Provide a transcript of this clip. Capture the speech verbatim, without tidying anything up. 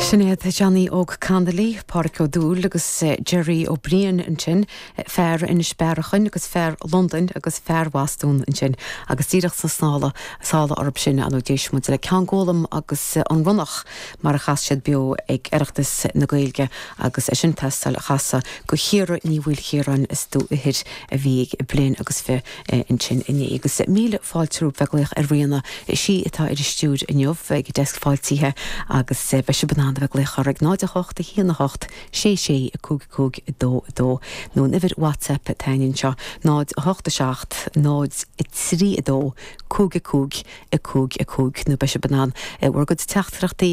Sinéad Johnny Óg Connolly, Pádraig Ó Dúill agus eh, Jerry Ó Briain ansin, fear Inis Bearachain agus fear Londain agus fear Bhostún ansin agus díreach sa snála sála orb sin an d'éist muid le Ceann Gólam agus eh, an Ronnach mar a chas siad beo ag Oireachtas na Gaeilge agus é sin teastáil a chasadh do Chiara Ní Mhaoilchiaráin is tú ithir a bhí bliain agus fiche ansin inné agus míle fáilte bheith glaoch ar Ríona sí atá ar an stiúir inniu ag deasc fáiltithe agus beidh sibh in ann bheith glaoch ar ag náid a hocht a haon a hocht sé sé a cúig cúig dó dó nó an uimhir WhatsApp tainin seo náid a hocht a seacht náid a trí a dó cúig a cúig a cúig a cúig nó beidh sibh in ann bhur gcuid teachtaireachtaí